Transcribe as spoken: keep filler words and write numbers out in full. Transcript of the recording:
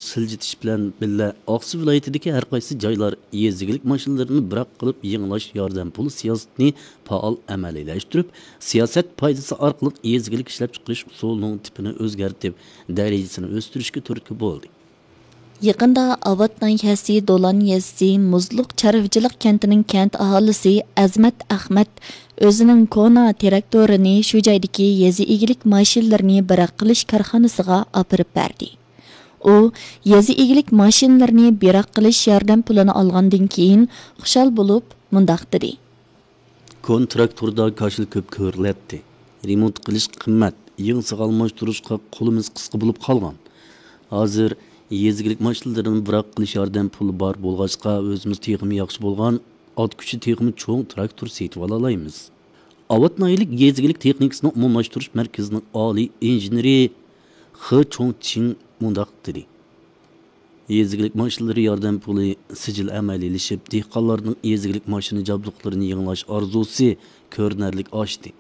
سىلجىتىش بىلەن بىللە، ئاقسۇ ۋىلايىتىدىكى ھەر قايسى جايلار يېزا ئىگىلىك ماشىنىلىرىنى بىراق قىلىپ يېڭىلاش ياردەم پۇلى سىياسىتىنى پائال ئەمەلىيلەشتۈرۈپ، سىياسەت پايدىسى ئارقىلىق يېزا ئىگىلىك ئىشلەپچىقىرىش ئۇسۇلىنىڭ تىپىنى ئۆزگەرتىپ، دەرىجىسىنى ئۆستۈرۈشكە تۈرتكە بولدى. يېقىندا ئاۋات ناھىيەسى دولان يېزىسى مۇزلۇق چارۋىچىلىق كەنتىنىڭ كەنت ئاھالىسى ئەزمەت ئەخمەت ئۆزىنىڭ كونا تىراكتورىنى شۇ جايدىكى يېزا ئىگىلىك ماشىنىلىرىنى بىراق قىلىش كارخانىسىغا ئاپىرىپ بەردى. ئۇ يېزا ئىگىلىك ماشىنىلىرىنى بىراق قىلىش ياردەم پۇلىنى ئالغاندىن كېيىن خۇشال بولۇپ مۇنداق دېدى. كونا تىراكتوردا كاشىلا كۆپ كۆرۈلەتتى. رېمونت قىلىش قىممەت، يېڭىسىغا ئالماشتۇرۇشقا قولىمىز قىسقا بولۇپ قالغان. ھازىر يېزا ئىگىلىك ماشىنىلىرىنى بىراق قىلىش ياردەم پۇلى بار بولغاچقا، ئۆزىمىز تېخىمۇ ياخشى بولغان ئات كۈچى، تېخىمۇ چوڭ تىراكتور سېتىۋالالايمىز. ئاۋات ناھىيەلىك يېزا ئىگىلىك تېخنىكىسىنى ئومۇملاشتۇرۇش مەركىزىنىڭ ئالىي ئىنژېنېرى خې چوڭچىڭ مۇنداق دېدى. يېزا ئىگىلىك ماشىنىلىرى ياردەم پۇلى سىجىل ئەمەلىيلىشىپ، دېھقانلارنىڭ يېزا ئىگىلىك ماشىنا جابدۇقلىرىنى يېڭىلاش ئارزۇسى كۆرۈنەرلىك ئاشتى.